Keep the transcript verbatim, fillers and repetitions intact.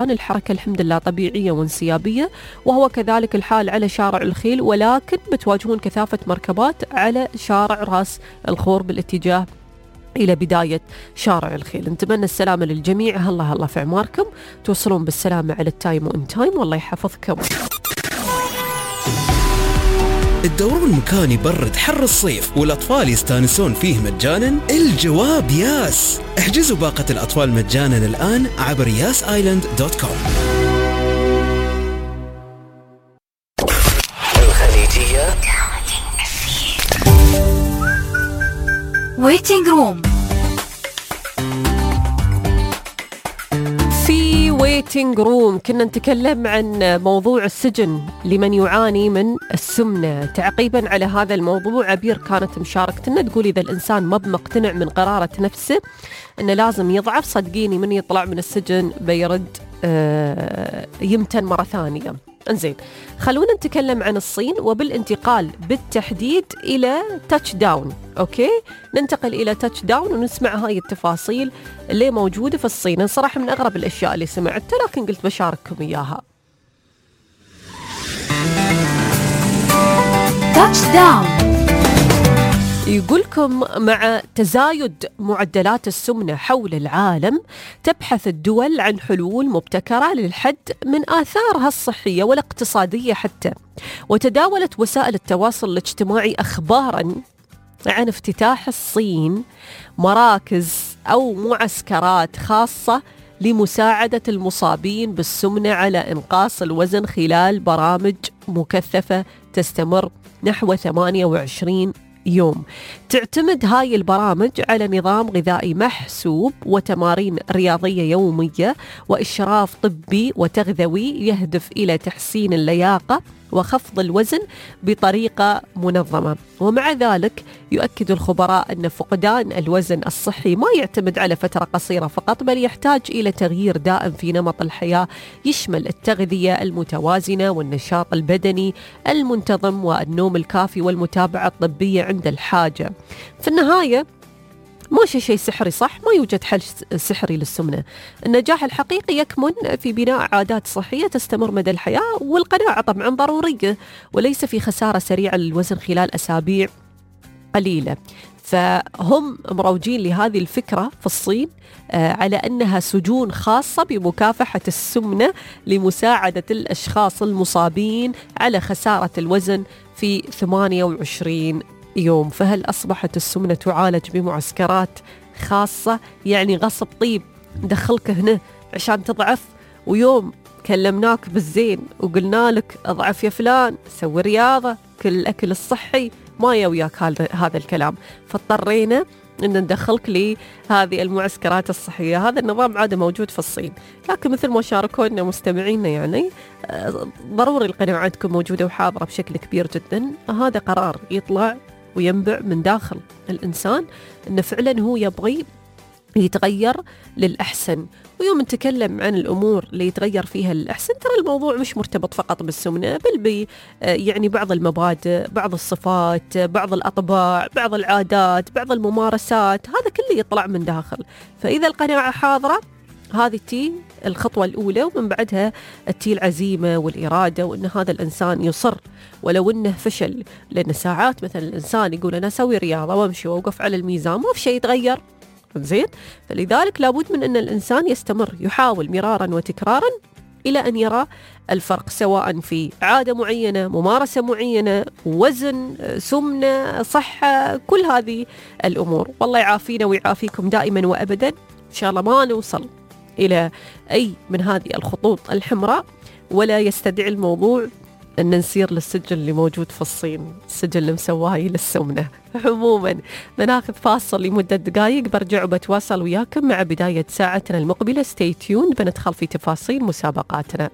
الحركة الحمد لله طبيعية وانسيابية، وهو كذلك الحال على شارع الخيل، ولكن بتواجهون كثافة مركبات على شارع راس الخور بالاتجاه إلى بداية شارع الخيل. نتمنى السلامة للجميع، هلا هلا في عماركم، توصلون بالسلامة على التايم وإن تايم، والله يحفظكم. الدورون مكان يبرد حر الصيف والأطفال يستانسون فيه مجانا؟ الجواب ياس. احجزوا باقة الأطفال مجانا الآن عبر ياس آيلاند دوت كوم. الخليجية ويتنج روم. في ويتنج روم كنا نتكلم عن موضوع السجن لمن يعاني من السمنة. تعقيبا على هذا الموضوع عبير كانت مشاركتنا تقول إذا الإنسان ما بمقتنع من قرارة نفسه أنه لازم يضعف، صدقيني من يطلع من السجن بيرد آه يمتن مرة ثانية. انزين، خلونا نتكلم عن الصين وبالانتقال بالتحديد إلى تاتش داون. أوكي، ننتقل إلى تاتش داون ونسمع هاي التفاصيل اللي موجودة في الصين. صراحة من أغرب الأشياء اللي سمعتها، لكن قلت بشارككم إياها. تاتش داون. يقولكم مع تزايد معدلات السمنة حول العالم، تبحث الدول عن حلول مبتكرة للحد من آثارها الصحية والاقتصادية حتى. وتداولت وسائل التواصل الاجتماعي أخباراً عن افتتاح الصين مراكز أو معسكرات خاصة لمساعدة المصابين بالسمنة على إنقاص الوزن خلال برامج مكثفة تستمر نحو ثمانية وعشرين يوم. تعتمد هاي البرامج على نظام غذائي محسوب وتمارين رياضية يومية وإشراف طبي وتغذوي يهدف إلى تحسين اللياقة وخفض الوزن بطريقة منظمة. ومع ذلك يؤكد الخبراء أن فقدان الوزن الصحي ما يعتمد على فترة قصيرة فقط، بل يحتاج إلى تغيير دائم في نمط الحياة يشمل التغذية المتوازنة والنشاط البدني المنتظم والنوم الكافي والمتابعة الطبية عند الحاجة. في النهاية مو شيء سحري، صح؟ ما يوجد حل سحري للسمنة. النجاح الحقيقي يكمن في بناء عادات صحية تستمر مدى الحياة، والقناعة طبعا ضرورية، وليس في خسارة سريعة للوزن خلال أسابيع قليلة. فهم مروجين لهذه الفكرة في الصين آه على أنها سجون خاصة بمكافحة السمنة لمساعدة الأشخاص المصابين على خسارة الوزن في ثمانية وعشرين يوم. فهل أصبحت السمنة تعالج بمعسكرات خاصة؟ يعني غصب طيب ندخلك هنا عشان تضعف، ويوم كلمناك بالزين وقلنا لك اضعف يا فلان، سوي رياضة، كل الأكل الصحي، ما يوياك هذا الكلام، فاضطرينا أن ندخلك لهذه المعسكرات الصحية. هذا النظام عادة موجود في الصين، لكن مثل ما شاركونا مستمعينا يعني ضروري القناعة تكون موجودة وحاضرة بشكل كبير جدا. هذا قرار يطلع وينبع من داخل الإنسان أنه فعلا هو يبغي يتغير للأحسن. ويوم نتكلم عن الأمور اللي يتغير فيها للأحسن، ترى الموضوع مش مرتبط فقط بالسمنة، بل ب يعني بعض المبادئ، بعض الصفات، بعض الأطباع، بعض العادات، بعض الممارسات، هذا كله يطلع من داخل. فإذا القناعة حاضرة، هذه تي الخطوة الأولى، ومن بعدها التي العزيمة والإرادة، وأن هذا الإنسان يصر ولو أنه فشل. لأن ساعات مثلا الإنسان يقول أنا أسوي رياضة وأمشي وأوقف على الميزان ما في شيء يتغير، زين. فلذلك لابد من أن الإنسان يستمر يحاول مرارا وتكرارا إلى أن يرى الفرق، سواء في عادة معينة، ممارسة معينة، وزن، سمنة، صحة، كل هذه الأمور. والله يعافينا ويعافيكم دائما وأبدا. إن شاء الله ما نوصل إلى أي من هذه الخطوط الحمراء، ولا يستدعي الموضوع أن نسير للسجن اللي موجود في الصين، السجن اللي مسواهي للسمنة. عموما بناخذ فاصل لمدة دقائق، برجع وبتواصل وياكم مع بداية ساعتنا المقبلة. stay tuned، بندخل في تفاصيل مسابقاتنا.